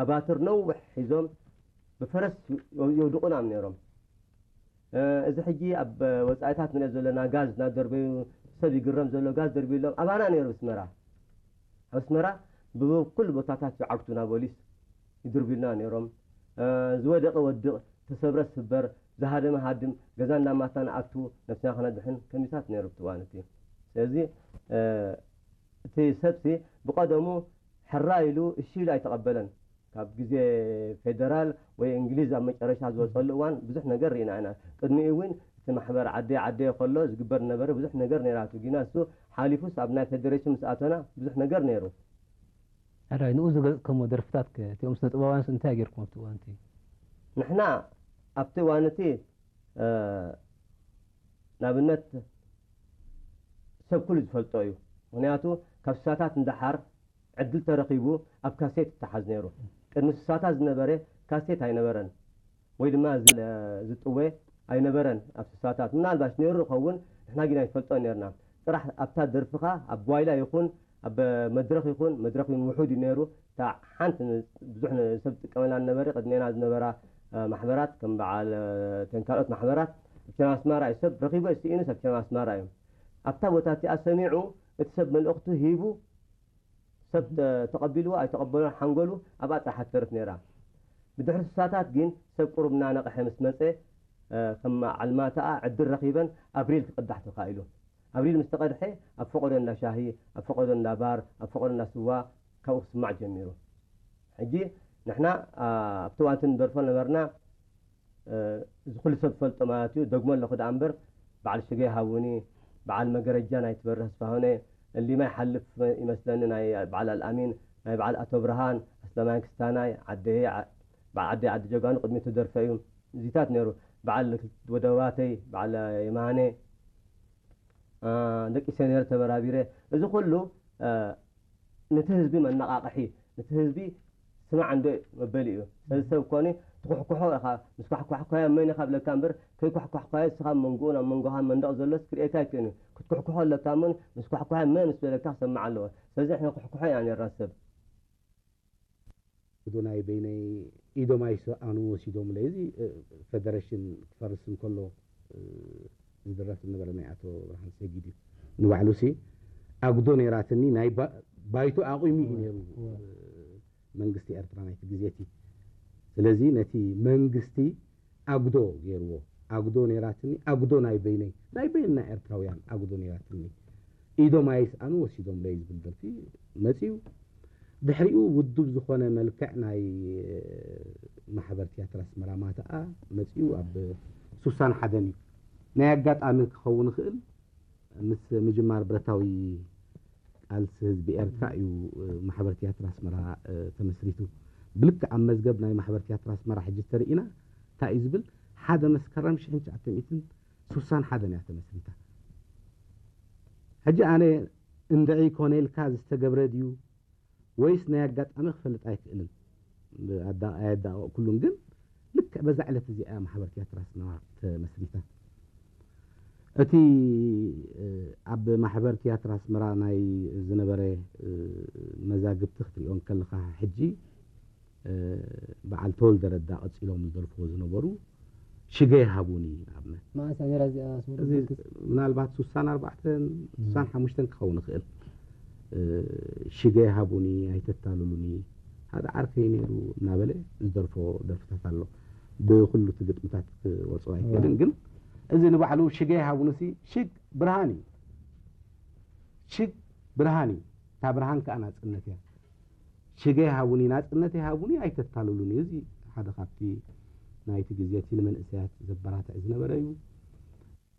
ኣባትር ነውሕ ሒዞም ብፈረስ የውድቑና ነይሮም። እዚ ሕጂ ኣብ ወጻኢታት ንሪኦ ዘለና ጋዝ እናደርበዩ፣ ሰብ ይግረም ዘሎ ጋዝ ደርብዩሎም ኣባና ነይሩ። ኣስመራ ኣብ ኣስመራ ብኩሉ ቦታታት ይዓግቱና፣ ፖሊስ ይድርብዩልና ነይሮም። ዝወደቐ ወድቕ፣ ተሰብረ ስበር፣ ዝሃደመ ሃድም፣ ገዛ እናማትና ኣቱ፣ ነብስና ከነድሕን ከሚታት ነይሩ ኣብቲ እዋን እቲ። ስለዚ እቲ ሰብሲ ብቐደሙ ሕራ ኢሉ እሺ ኢሉ ኣይተቐበለን። ካብ ግዜ ፌደራል ወይ እንግሊዝ ኣብ መጨረሻ ዝወፀሉ እዋን ብዙሕ ነገር ርኢና ኢና። ቅድሚኡ እውን እቲ ማሕበር ዓደይ ዓደይ ከሎ ዝግበር ዝነበረ ብዙሕ ነገር ነይራቱ፣ ግና እሱ ሓሊፉስ ኣብ ናይ ፌደሬሽን ምስ ኣተና ብዙሕ ነገር ነይሩ። ኣዳይ ንኡ ዝገለፅከሞ ደርፍታት ከ እቲኦም ስነ ጥበባውያንስ እንታይ ገይርኩም ኣብቲ እዋን እቲ? ንሕና ኣብቲ እዋን እቲ ንኣብነት ሰብ ኩሉ ዝፈልጦ እዩ። ምክንያቱ ካብ ስሳታት ንደሓር ዕድል ተረኺቡ ኣብ ካሴት ይተሓዝ ነይሩ። ቅድሚ ስሳታት ዝነበረ ካሴት ኣይነበረን፣ ወይ ድማ ዝጥወ ኣይነበረን ኣብ ስሳታት። ምናልባሽ ነይሩ ይኸውን፣ ንሕና ግን ኣይንፈልጦ ነርና። ጥራሕ ኣብታ ደርፍኻ ኣብ ጓይላ ይኹን ኣብ መድረኽ ይኹን፣ መድረኽ እውን ውሑድ እዩ ነይሩ። እታ ሓንቲ ብዙሕ ሰብ ዝጥቀመላ ዝነበረ ቅድሜና ዝነበራ ማሕበራት ከም በዓል ተን ካልኦት ማሕበራት ኣብ ቸና ኣስማራ እዩ ሰብ ረኺቡ ስኢኑስ ኣብ ቸና ኣስማራ እዩ። ኣብታ ቦታ እቲኣ ሰሚዑ እቲ ሰብ መልእኽቱ ሂቡ ሰብ ተቐቢልዎ ኣይተቐበሎን ሓንጎሉ ኣብኣ ጥራሕ ትተርፍ ነይራ። ብድሕሪ ስሳታት ግን ሰብ ቁሩብ እናነቕሐ ምስ መጸ ከም ዓልማታኣ ዕድል ረኺበን ኣብሪል ክቕዳሕ ተኻኢሉ። ኣብሪል ምስ ተቐድሐ ኣብ ፈቐዶ እንዳ ሻሂ፣ ኣብ ፈቐዶ እንዳ ባር፣ ኣብ ፈቐዶ እንዳ ስዋ ካብኡ ክስማዕ ጀሚሩ። ሕጂ ንሕና ኣብቲ እዋንቲ ንደርፎ ነበርና። እዚ ኩሉ ሰብ ዝፈልጦ ማለት እዩ። ደግሞ ኣለኹ ደኣ እምበር በዓል ሽገ ሃቡኒ፣ በዓል መገረጃ ናይ ትበርህ ኣስፋሆነ፣ እሊማ ይሓልፍ ይመስለኒ ናይ በዓል ኣልኣሚን፣ ናይ በዓል ኣቶ ብርሃን፣ ኣስለማይ ክስታናይ፣ ዓደየ፣ በዓል ዓደየ ዓዲ ጀጋኑ ቅድሚ ተደርፈ እዩ። እዚታት ነይሩ። በዓል ወደባተይ፣ በዓል የማነ፣ ደቂ ሰኔር ተበራቢረ። እዚ ኩሉ ነቲ ህዝቢ መነቓቕሒ፣ ነቲ ህዝቢ ስማዕ እንዶ መበሊ እዩ። ስለዚ ሰብ ኮኒ ትኩሕኩሖ ኢኻ፣ ምስ ኳሕኳሕኳዮ መን ኢኻ ብለካ እምበር፣ ከይኳሕኳሕኳዮ እስኻ ኣብ መንጎኡ ናብ መንጎኻ መንደቕ ዘሎስ ክርእየካ ኣይክእልን እዩ። ክትኩሕኩሖ ኣለካ እሞ ምስ ኳሕኳሖ መን ምስ በለካ ክሰምዕ ኣለዎ። ስለዚ ንሕና ኩሕኩሖ ኢና ነርና ሰብ። ጉዶ ናይ በይነይ ኢዶም ኣይሰኣኑ ወሲዶምለይ። እዚ ፈደረሽን ክፈርስ እንከሎ ዝድረፍ ዝነበረ ናይ ኣቶ ብርሃን ሰጊድ እዩ። ንባዕሉሲ ኣጉዶ ነይራትኒ ናይ ባይቶ ኣቑሚ እዩ ነይሩ መንግስቲ ኤርትራ ናይቲ ግዜ እቲ። ስለዚ ነቲ መንግስቲ ኣጉዶ ገይርዎ። ኣጉዶ ነይራትኒ፣ ኣጉዶ ናይ በይነይ፣ ናይ በይንና ኤርትራውያን ኣጉዶ ነይራትኒ። ኢዶም ኣይስኣኑ ወሲዶምለይ ዝብል ደርፊ መጺኡ። ድሕሪኡ ውዱብ ዝኾነ መልክዕ ናይ ማሕበር ትያትር ኣስመራ ማተኣ መጺኡ ኣብ ሱሳን ሓደን እዩ። ናይ ኣጋጣሚ ክኸውን ይኽእል ምስ ምጅማር ብረታዊ ቃልሲ ህዝቢ ኤርትራ እዩ ማሕበር ትያትር ኣስመራ ተመስሪቱ። ብልክዕ ኣብ መዝገብ ናይ ማሕበር ትያትር ኣስመራ ሕጂ ተርኢና እንታይ እዩ ዝብል ሓደ መስከረም ሽሕን ትሽዓተ ሚእትን ስሳን ሓደን እያ ተመስሪታ። ሕጂ ኣነ እንድዒ ኮነ ኢልካ ዝተገብረ ድዩ ወይስ ናይ ኣጋጣሚ ክፈልጥ ኣይክእልን። ኣየዳቐቕኩሉን ግን ልክዕ በዛ ዕለት እዚኣ እያ ማሕበር ትያትር ኣስመራ ተመስሪታ። እቲ ኣብ ማሕበር ትያትር ኣስመራ ናይ ዝነበረ መዛግብቲ ክትሪኦ እንከለኻ ሕጂ በዓል ተወልደ ረዳ ቀጺሎም ዝደርፍዎ ዝነበሩ ሽገ ይሃቡኒ ኣብነት መዓስ እያ ነይራ እዚኣ ኣስመራ እዚ ብርግጽ? ምናልባት ስሳን ኣርባዕተን ስሳን ሓሙሽተን ክኸውን ይኽእል። ሽገ ይሃቡኒ ኣይተታልሉኒ ሓደ ዓርከይ ነይሩ እናበለ ዝደርፎ ደርፍታት ኣሎ። ብኩሉ እቲ ግጥምታት ክወፅኦ ኣይክእልን ግን እዚ ንባዕሉ ሽገ ይሃቡኒ ሲ ሽግ ብርሃን እዩ። ሽግ ብርሃን እዩ። እታ ብርሃን ከዓ ናፅነት እያ። ሽገ ይሃቡኒ ናፅነት ይሃቡኒ ኣይተታልሉኒ እዚ ሓደ ካብቲ ናይቲ ግዜ እቲ ንመንእሰያት ዘበራትዕ ዝነበረ እዩ።